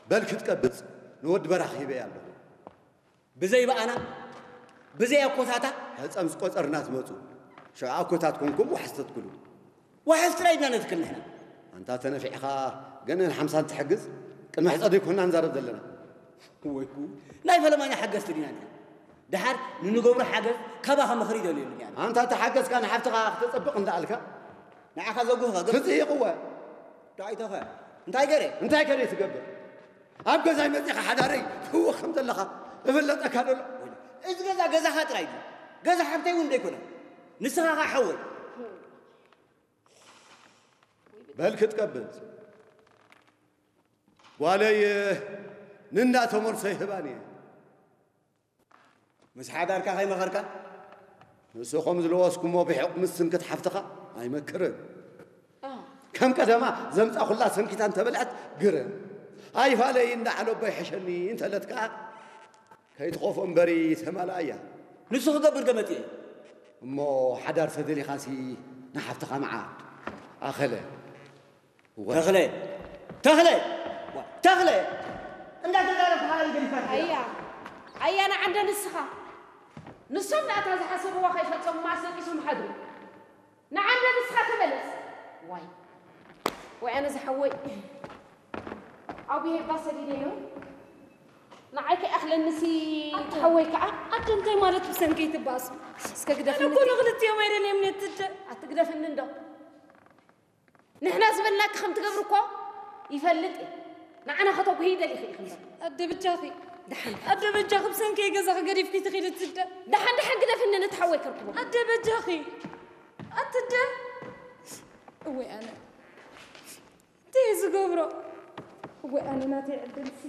በል ክትቀብጽ ንወዲ በራኺ ሂበያ ኣለኹ። ብዘይ በኣና፣ ብዘይ ኣኮታታ። ሕጸም ዝቆጸርና ትመጹ። ሽዑ ኣኮታት ኮንኩም ዋሕስ ተትክሉ። ዋሕስ ጥራይ ኢና ነትክል ንሕና። ኣንታ ተነፊዕኻ ገንእን ሓምሳን ትሕግዝ፣ ቅድሚ ሕጸ ዘይኮንና ንዛረብ ዘለና። ወይ ጉድ! ናይ ፈለማኛ ሓገዝቲ ዲና ንሕና። ደሓር ንንገብሮ ሓገዝ ካባኻ ምኽሪ ይደልየሉ እያ። ኣንታ ተሓገዝካ ንሓፍትኻ ክተጸብቕ እንዳኣልካ ንዓኻ ዘጉህኻ ገ- ክትጽይቕወ። ዳይተኸ እንታይ ገረ? እንታይ ከደ ትገብር? ኣብ ገዛይ መጺኻ ሓዳረይ ትህወኽ ከም ዘለኻ እፍለጠካ ደሎ። እዚ ገዛ ገዛኻ ጥራይ ድዩ? ገዛ ሓብተይ እውን ደይኮነ። ንስኻ ኸዓ ሓወይ። በል ክትቀብጽ። ጓለይ ንእንዳ ተመርሶ ይህባን እየ። ምስ ሓዳርካ ከይመኸርካ? ንስኹም ዝለወስኩሞ ብሕቕ ምስ ስንክት ሓፍትኻ ኣይመክርን። ከም ቀደማ ዘምጻኹላ ሰንኪታ እንተበልዐት ግርም። ኣይፋለይ እንዳ ዓለቦ ይሕሸኒ እንተለት ከኣ ከይትኸፍኦ እምበሪ ተማልኣያ። ንሱ ክገብር ዶ መጺኤ? እሞ ሓዳር ተደሊኻሲ ንሓፍትኻ መዓት ኣኸለ። ተኽለ! ተኽለ! ዋ፣ ተኽለ! እንዳተዛረብካ ሓላል ገዲፋት። ኣያ፣ ኣያ ንዓንደ ንስኻ። ንሶም ናታ ዝሓሰብዋ ከይፈጸሙ ኣስለቂሶም ሓድሩ። ንዓንደ ንስኻ ተመለስ። ዋይ። ወይ ኣነ ዝሓወይ። ኣብይ ሄባ ሰዲደዮ። ንዓይ ከይኣኽለንሲ ኣደ። ትሓወይ ከኣ። ኣደ እንታይ ማለት ብሰንከይ ትባእሱ? እስከ ግደፍኒ ኣነ እኮ ንክልቲኦም ኣይደልዮም ነትደ። ኣትግደፍኒ እንዶ። ንሕና ዝበልናኪ ከም ትገብሪ እኮ ይፈልጥ እየ። ንዓና ከተጉሂ ይደሊኺ ኢኺ እምበር። ኣደ በጃኺ። ደሓን። ኣደ በጃኺ ብሰንከይ ገዛኺ ገዲፍኪ ትኺዲ ትደ። ደሓን ደሓን ግደፍኒ ነቲ ሓወይ ከርክቦ። ኣደ በጃኺ። ኣትደ። እወይ ኣነ። እንታይ እየ ዝገብሮ? እወይ ኣነ ናተይ ዕድልሲ።